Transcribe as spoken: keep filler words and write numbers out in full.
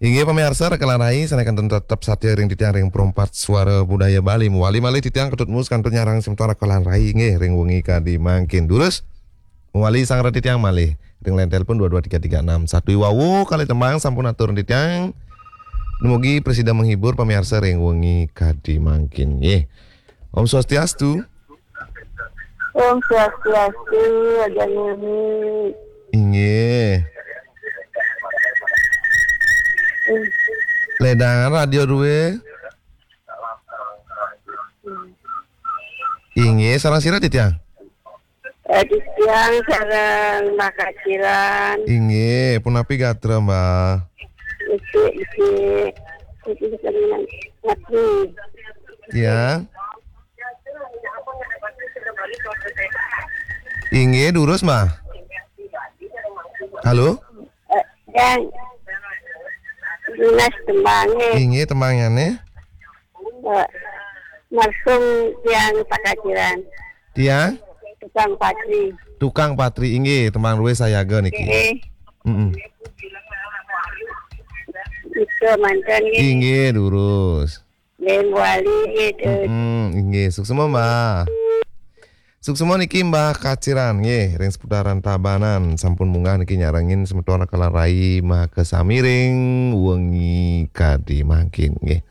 Inggih pamiarsa, rekan rai, sané kantun tetep satia ring titiang ring Perempat Suara Budaya Bali. Mawali malih titiang Ketut Mus kantun nyarengin semeton rekan rai inggih ring wengi kadi mangkin. Durus mawali sang reti titiang malih ring line telepon dua dua tiga tiga enam satu. Iwau kalih tembang sampun atur titiang. Dumugi prasida menghibur pamiarsa ring wengi kadi mangkin nggih. Om Swastiastu. Om Swastiastu, Aja Nini. Inggih. Ledangan radio duwe. Inggih, sareng sira titiang? Eh, titiang sareng Mbah Kaciran. Inggih, punapi gatra, Mbah? Iki, iki. Iki, iki, iki. Tiang. Inggih, durus, Mbah. Halo? Eh, yang lunas tembangnya. Inggih, tembangnyané. Eh, Marsum tiang Pakaciran. Tiang? Tukang patri. Tukang patri, inggih, tembang duwe sayaga niki. Nggih. Mm-mm. Itu manten nggih. Inggih, durus. Nggih, wali gitu. Mm-mm, inggih, suksma, Mbah. Suksma niki Mbah Kaciran nggih, ring seputaran Tabanan sampun munggah niki nyarengin semeton rekan rai makasami ring wengi kadi mangkin nggih.